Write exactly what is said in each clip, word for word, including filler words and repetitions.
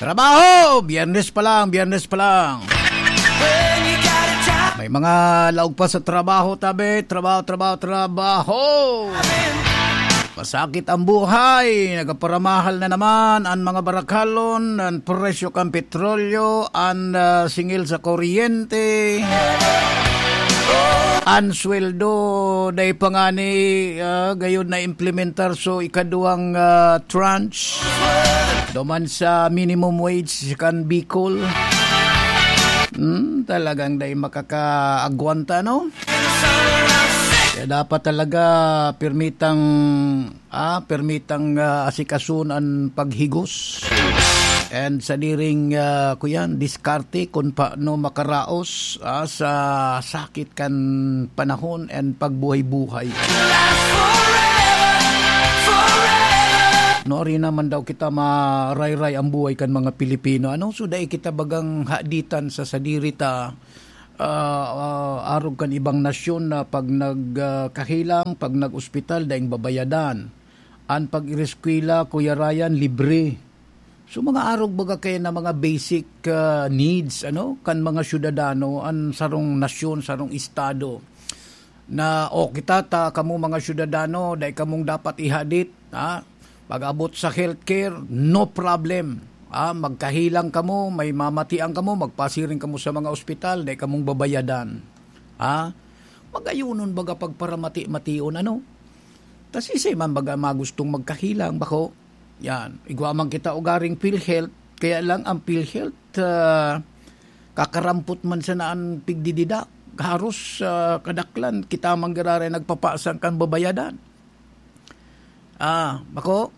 Trabaho! Biyernes pa lang, Biyernes pa lang. May mga laog pa sa trabaho, tabi. Trabaho, trabaho, trabaho. Masakit ang buhay. Nagpaparamahal na naman ang mga barakalon, ang presyo kan petrolyo, ang, ah, singil sa kuryente, ang sweldo, dai pa ngani, ah, gayon na implementar. So, ikaduwang, ah, tranche duman sa minimum wage kan Bicol. Hmm, talagang dai makakaagwanta, no? Kaya dapat talaga permitang, ah, permitang, ah, asikason ang paghigos. And sa diring, ah, kuyan, diskarte kung paano makaraos, ah, sa sakit kan panahon and pagbuhay-buhay. No, ari naman daw kita marayray ang buhay kan mga Pilipino. Ano? So, dai kita bagang haditan sa sadiri ta, ah, ah, arog kan ibang nasyon na pag nag, ah, kahelang, pag nag-ospital, daing babayadan. An pag-ireskwela, Kuya Ryan, libre. So, mga arog baga kaya na mga basic, ah, needs, ano, kan mga syudadano, an sarong nasyon, sarong estado. Na, "O, kita ta, kamo mga syudadano, dai kamong dapat ihadit, ha? Pag-abot sa healthcare, no problem. Ha? Magkahelang kamo, may mamatian kamo, magpasiring kamo sa mga ospital, dai kamong babayadan." Ha? Magayonon baga pagparamati-mation, ano? Ta siisay man baga magustong magkahelang, bako? Yan. Igwa man kita ugaring PhilHealth, kaya lang ang PhilHealth, ah, kakarampot man sana an pigdididak. Haros, ah, kadaklan, kita man giraray nagpapasang kan babayadan. Ah, bako,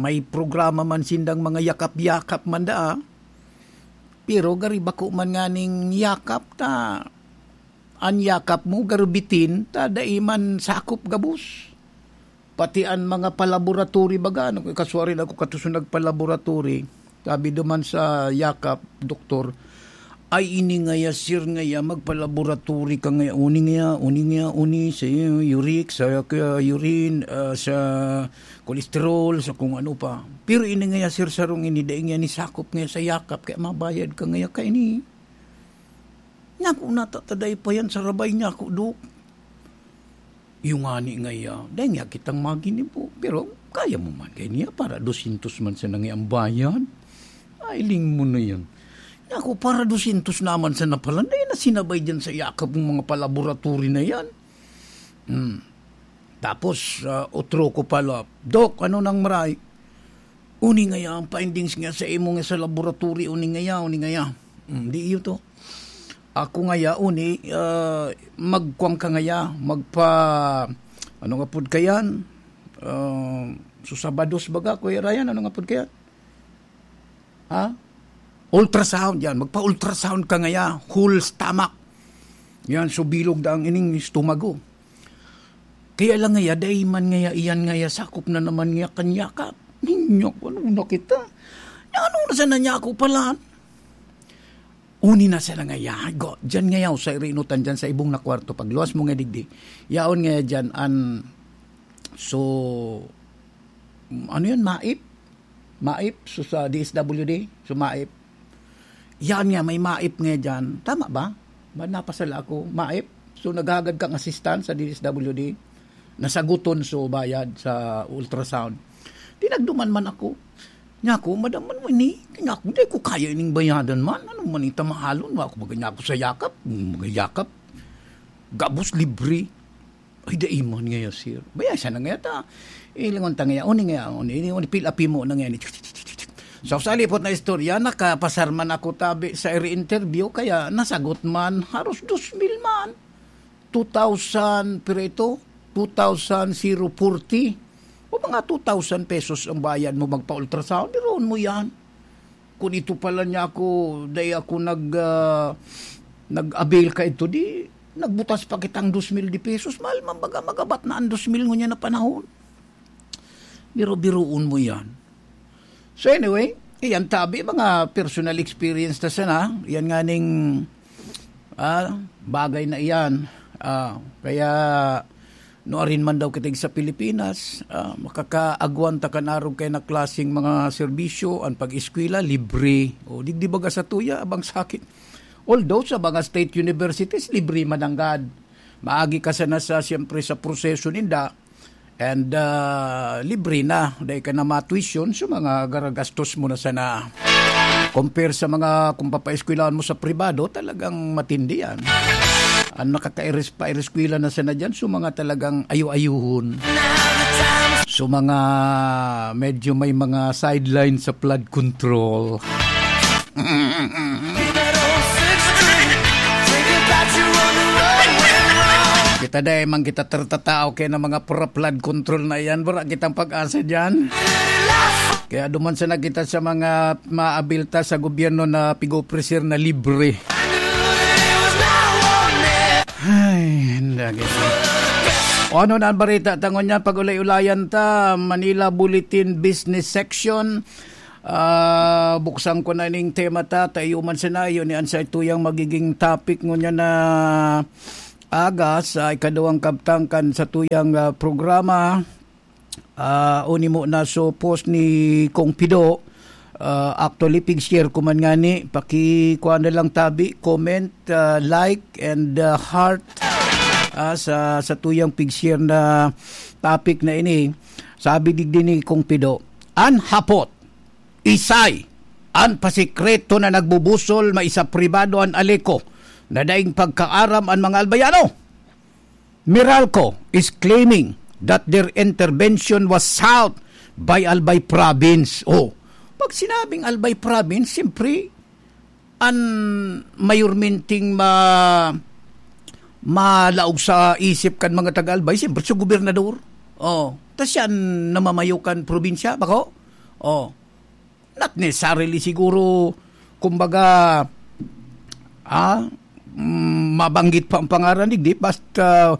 may programa man sindang mga yakap-yakap man daa. Pero gari bako man nganing yakap ta, an yakap mo garo bitin ta dai man sakop gabos. Pati an mga palaboratory baga, ano, kaswarin ako katuso nagpalaboratory. Sabi duman sa yakap, doktor, "Ay, ini ngaya, sir, ngaya, magpalaboratory ka ngaya, uni ngaya, uni ngaya, uni sa uric, sa, ka, urine, ah, sa cholesterol, sa kung ano pa. Pero ini ngaya, sir, sarong ini, dai ngaya ni sakop ngaya sa yakap, kaya mabayad ka ngaya kaini." Naku, natataday pa yan sa rabay niya ako, Dok. Yung ngani ngaya, dai nga kitang maginibo. Pero kaya mo man kaya niya, para dosyentos man sana ngaya ang bayad. Ay, ling mo na yan. Naku, para dosyentos naman sana pala, dai na sinabay dyan sa yakap ng mga palaboratory na yan. Hmm. Tapos, ah, otro ko pala, "Dok, ano nang maray?" "Uni ngaya ang findings nga sa imo nga sa laboratory, uni ngaya, uni ngaya." Hmm, di iyo to. Ako ngaya, uni, ah, magkuwang ka ngaya, magpa-, ano nga pud kayan? Ah, so, Sabados baga, Kuya Ryan, ano nga pud kayan? Ha? Ultrasound, yan. Magpa-ultrasound ka ngaya, whole stomach. Yan, so bilog daang ining estomago. Kaya lang ngaya, dai man ngaya, iyan ngaya, sakop na naman ngaya kan yakap. Ninyo, ano na kita? Ano na sana niya ako pala? Uni na sana ngaya, go, dyan ngaya, sa irinutan dyan, sa ibong na kwarto, pagluwas mo nga digdi. Yaon ngaya dyan, an, so, ano yun, maip? Maip, so sa D S W D, so maip. Yan nga, may maip nga dyan. Tama ba? Ba, napasala ako, maip. So, naghagad kang assistant sa D S W D. Nasaguton, so, bayad sa ultrasound. Tinagduman man ako. Niya ako, "Madam, ano ini?" Niya ako, "Di ko kaya ining bayadan man. Ano man ita mahalon? Wa ako maganyako sa yakap. Magyakap. Gabos libre." "Ay, dai man ngaya, sir." Baya siya na ngaya ta. Ilingon ta ngaya, uni ngaya, uni, uni, uni, pil api mo na ngaya ni. Sa usa lipot na istorya, nakapasar man ako tabi sa iri interview, kaya nasagot man, haros dos mil man. Two thousand, pero ito, two thousand zero forty. O mga two thousand pesos ang bayad mo magpa-ultrasound, biruon mo yan. Kung ito pala niya ako, dai ako nag, ah, nag-avail ka ito, di, nagbutas pa kitang dos mil de pesos. Mahal man baga magabat na ang dos mil ngunyan na panahon. Biro-biroon mo yan. So anyway, iyan tabi, mga personal experience ta sana. Yan nga ning, ah, bagay na iyan. Ah, kaya, Nuarin man daw kita sa Pilipinas, ah, makakaagwan ta kan arog kaiyan na klaseng mga serbisyo, an pag-eskwela, libre. O, digdi baga sa tuya, abang sakit. Although sa mga state universities, libre man nanggad. Maagi ka sana sa, siyempre, sa proseso ninda, and, ah, libre na. Dai ka na matuition, so mga garagastos mo na sana. Compare sa mga, kung papaeskwelahan mo sa pribado, talagang matindi yan. Ang nakakairis-, paereskwela na sana dyan, so mga talagang ayo-ayuhon. So mga medyo may mga sideline sa flood control. Kita dai man kita tertatao kaya ng mga pro-, flood control na yan. Wala kitang pag-asa dyan. Kaya duman sana kita sa mga maabilta sa gobyerno na pigopresir na libre. Ay, hindi. O ano na ang balita? Tangon niya, pag-ulay-ulayan ta, Manila Bulletin Business Section. Ah, buksan ko na ning tema ta, tayo man sana, yun ni an sa ituyang magiging topic ngunyan na aga sa ikaduwang kabtangkan sa tuyang, ah, programa. Ah, unimo na so post ni Kong Pido. Ah, actually, pig-share ko man ngani. Pakikuha na lang tabi, comment, ah, like, and, ah, heart, ah, sa, sa tuyang pig-share na topic na ini. Sabi digdi ni Kong Pido, an hapot, isay, an pasikreto na nagbubusol, maisa pribado an Aleco, na daing pagkaaram an mga Albayano. Meralco is claiming that their intervention was sought by Albay Province. Oh, pag sinabing Albay Province, siyempre, an mayormenteng ma-, malaog sa isip kan mga taga-Albay, siyempre, sa gobernador. Oh, tas siya an namamayo kan probinsya, bako? Oh, not necessarily siguro, kumbaga, ah, mm, mabanggit pa ang pangaran, digdi, basta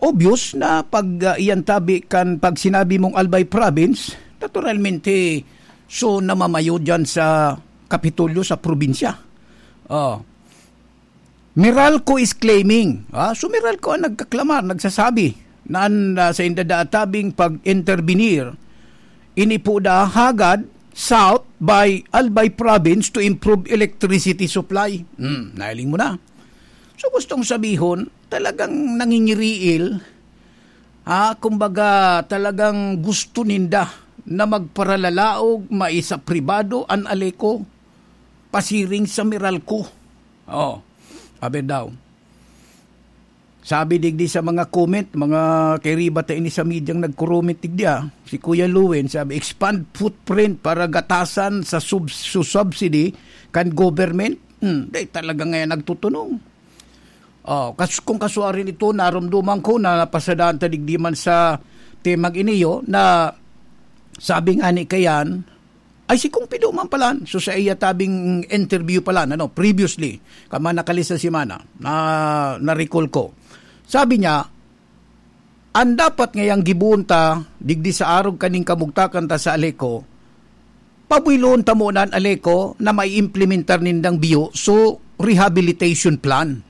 obvious na pag, ah, iyan tabi kan pag sinabi mong Albay Province, naturalmente, so namamayo dyan sa Kapitolyo, sa probinsya. Oh. Meralco is claiming, ah, so Meralco ang nagkaklamar, nagsasabi na an, ah, sa indadaatabing pag-intervenir, ini po da hagad sought by Albay Province to improve electricity supply. Hmm, nahiling mo na. So, gustong sabihon, talagang nangingiriil, ha? Kumbaga, talagang gusto ninda na magparalalaog, maisa pribado an Aleco, pasiring sa Meralco. Oh, abi daw. Sabi digdi sa mga comment, mga kairiba ta ini sa medyang nagkurumit digdi, ah. Si Kuya Lewin, sabi, "Expand footprint para gatasan sa sub-, su-, subsidy kan government." Hmm, dai talaga ngayon nagtutunong. Oh, kas-, kung kasuarin ito, narumduman ko na napasadaan ta digdi man sa temang iniyo na sabi nga ni Kayan, ay, si Kong Pido man pala, so sa iya tabing interview pala, ano, previously, kama nakalista semana, na, na-recall ko. Sabi niya, "An dapat ngayang giboon ta, digdi sa arog kaning kamugtakan ta sa Aleco, pabuylon ta muna an Aleco na maiimplementar nindang biyo, so rehabilitation plan."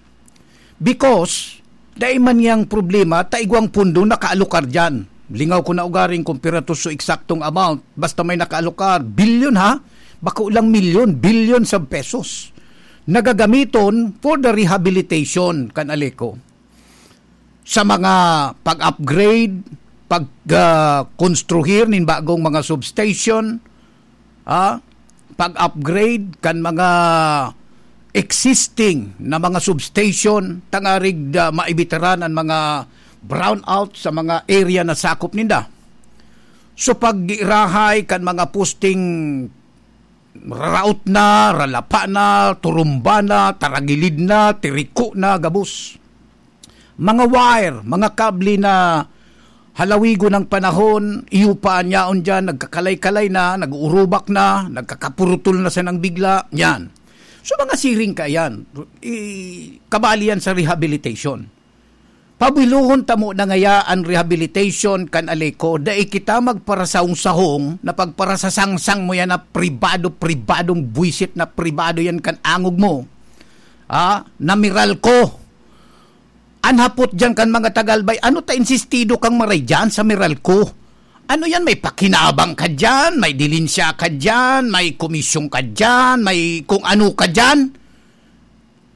Because, dai man niyang problema ta igwang pondo nakaalokar diyan. Lingaw ko na ugaring kung pira to so eksaktong amount, basta may nakaalokar, bilyon ha, bako lang milyon, billions of pesos. Nagagamiton for the rehabilitation kan Aleco. Sa mga pag-upgrade, pag, ah, konstruhir nin bagong mga substation, ah, pag-upgrade kan mga existing na mga substation, tangarig, ah, maibitaran an mga brownout sa mga area na sakop ninda. So, pag-iirahay kan mga posting raraot na, ralapa na, turumba na, taragilid na, tiriko na, gabos. Mga wire, mga kable na halawigon ng panahon, iyo pa an yaon diyan, nagkakalay-kalay na, nag-uurubak na, nagkakapurutol na sanang bigla, yan. So, mga siring kaiyan, i-, kabali yan sa rehabilitation. Pabuylon ta muna ngaya an rehabilitation kan Aleco, dai kita magparasahong-sahong na pagparasasangsang mo yan na pribado, pribadong buwisit na pribado yan kan angog mo. Ah, na Meralco. An hapot diyan kan mga taga-Albay, ano ta insistido kang maray diyan sa Meralco? Ano yan? May pakinabang ka diyan, may dilinsya ka diyan, may komisyon ka diyan, may kung ano ka diyan.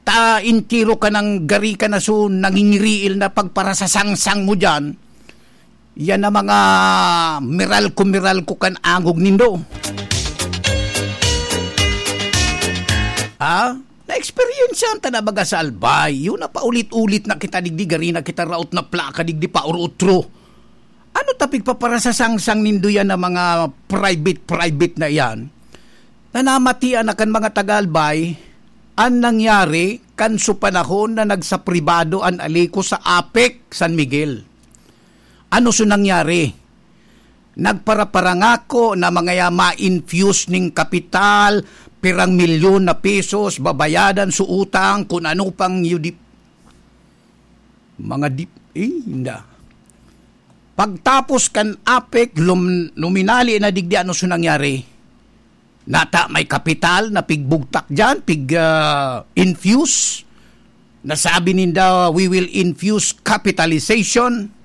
Ta entero ka nang gari ka na, so nangingiriil na pagparasasangsang mo diyan. Yan ang mga Meralco-Meralco kan angog nindo. Ha? Na-eksperyensyahan ta na baga sa Albay. Yun na paulit-ulit na kita digdi, gari na kita raot na plaka digdi pa or utro. Ano ta pigpaparasasangsang nindo yan na mga private-private na yan? Na namatian na kan mga taga-Albay, an nangyari kan su panahon na nagsapribado an Alico sa APEC San Miguel. Ano su nangyari? Nagparaparangako na mga ya ma-infuse ning kapital, pirang milyon na pesos, babayadan su utang, kun ano pang yudi-, mga dip-, eh, inda. Pagtapos kan APEC, lum-, luminali na digdi, ano su nangyari? Nata may kapital na pigbugtak diyan, pig, ah, infuse. Nasabi ninda, "We will infuse capitalization."